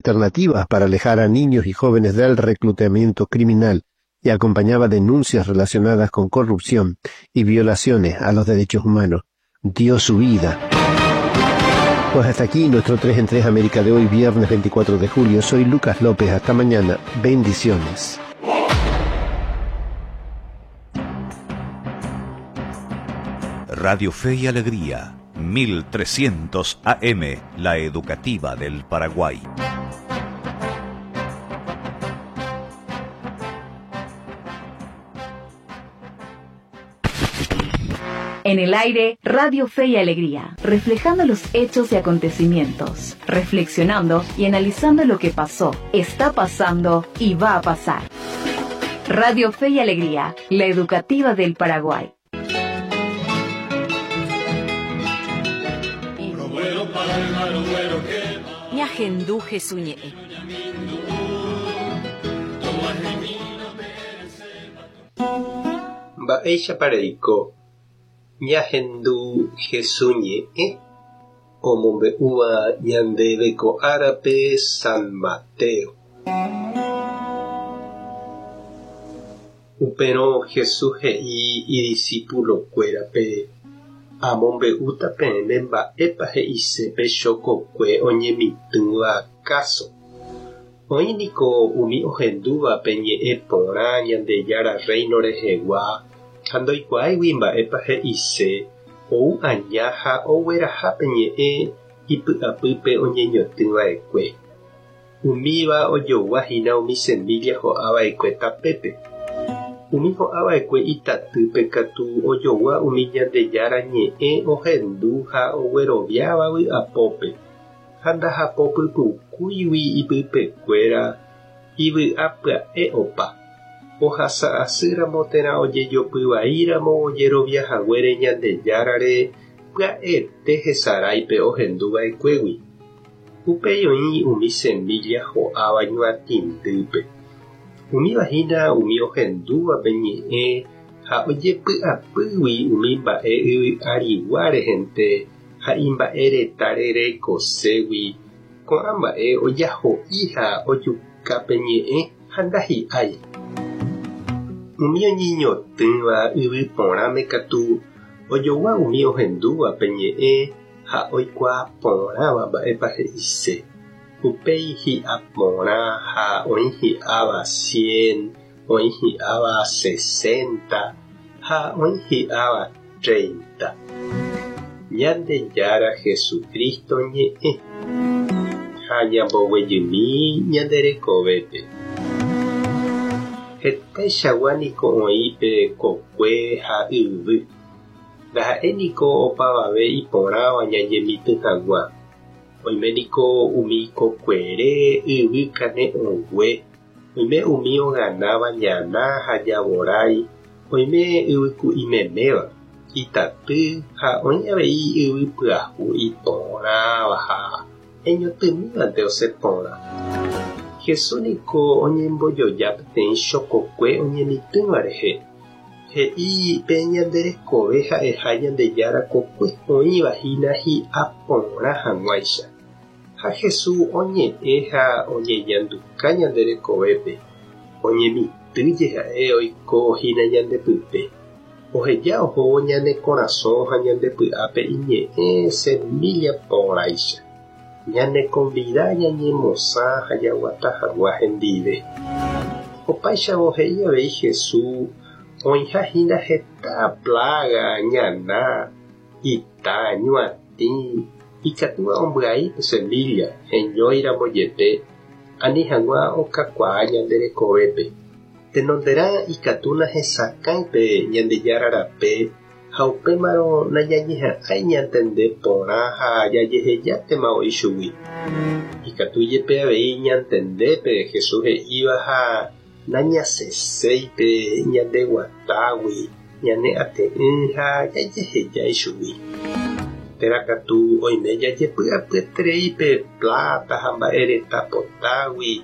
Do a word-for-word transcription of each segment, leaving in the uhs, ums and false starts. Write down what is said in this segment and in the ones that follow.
alternativas para alejar a niños y jóvenes del reclutamiento criminal y acompañaba denuncias relacionadas con corrupción y violaciones a los derechos humanos. Dio su vida. Pues hasta aquí nuestro tres en tres América de hoy, viernes veinticuatro de julio. Soy Lucas López. Hasta mañana. Bendiciones. Radio Fe y Alegría, mil trescientos A M, la educativa del Paraguay. En el aire, Radio Fe y Alegría, reflejando los hechos y acontecimientos, reflexionando y analizando lo que pasó, está pasando y va a pasar. Radio Fe y Alegría, la educativa del Paraguay. Ñahendu Jesús ñe'ẽ. Mba'éichapa reiko Ñahendu Jesús ñe'ẽ omombe'úva ñandéve ko árape San Mateo. Upérõ Jesús he'i idiscipulokuérape amombe'úta peẽme mba'épa he'ise pe chokokue oñemitỹva káso. Oĩ niko umi ohendúva pe ñe'ẽ porã Ñandejára reino rehegua ha ndoikuaáigui mba'épa he'ise ou aña ha ogueraha pe ñe'ẽ ipy'apýpe oñeñotỹva'ekue. Umíva ojoguahína umi semilla ho'ava'ekue tapépe. Umi ho'ava'ekue itatýpe katu ojogua umi Ñandejára ñe'ẽ ohendu ha ogueroviáva vy'apópe ha ndahapopypukúigui ipypekuéra ivy'apya'e opa. Ohasa'asýramo térã ojejopyvaíramo ojeroviahaguére Ñandejárare pya'ete hesaráipe ohenduva'ekuégui. Upéi oĩ umi semilla ho'áva ñuatĩndýpe. Umíva hína umi ohendúva pe ñe'ẽ ha ojepy'apýgui umi mba'e yvy'arigua rehente ha imba'e retãre reikoségui ko'ã mba'e ojaho'i ha ojuka pe ñe'ẽ ha ndahi'ái. Umi oñeñotỹva yvy porãme katu ojogua umi ohendúva pe ñe'ẽ ha oikuaa porãva mba'épa he'ise. Upéi hi'a porã ha oĩ hi'áva cien, oĩ hi'áva sesenta ha oĩ hi'áva treinta. Ñandejára Jesucristo ñe'ẽ ha ñamboguejymi ñande rekovépe. Hetaichagua niko oĩ pe kokue ha yvy. Ndaha'éi niko opavave iporãva ñañemitỹ hag̃ua. Oime niko umi kokuere yvy kane'õngue, oime umi oganáva ñana ha javorái, oime yvyku'imeméva, itaty ha oĩ avei yvy pyahu iporãva ha eñotỹmívante osẽ porã. Jesús niko oñembojoja peteĩ chokokue oñemitỹva rehe. He'i pe ñande rekove ha'eha Ñandejára kokue oĩva hína hi'a porã hag̃uáicha. Ha Jesús oñe'ẽ ha oñeñanduka ñande rekovépe. Oñemitỹje ha'e oiko hína ñandepype. Oheja ohóvo ñane korasõ ha ñandepy'ápe iñe'ẽ semilla porãicha. Ñane convida ñañemosã ha jaguata hag̃ua hendive. Opáichavo he'i avei Jesús oĩha hína heta plaga, ñana, ita, ñuatĩ, ikatúva ombyai pe semilla heñóiramo jepe ani hag̃ua okakuaa ñande rekovépe. Tenonderã ikatúna hesakãi pe Ñandejára rape ha upémarõ nañañeha'ãi ñantende porã ha jajehejátema oĩ chugui. Ikatu jepe avei ñantendépe Jesús he'íva ha nañaseséipe ñandeguatágui ñane ate'ỹ ha jajehejái chugui. Térã katu oime jajepy'apyeterei pe plata ha mba'e reta potágui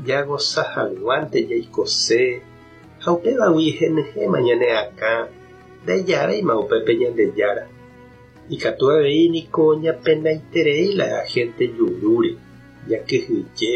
jagosa hag̃uánte jaikose ha upévagui henyhẽma ñane akã ndaijavéima upépe Ñandejára. Ikatu avei niko ñapenaiterei la gente jurúre, jakyhyje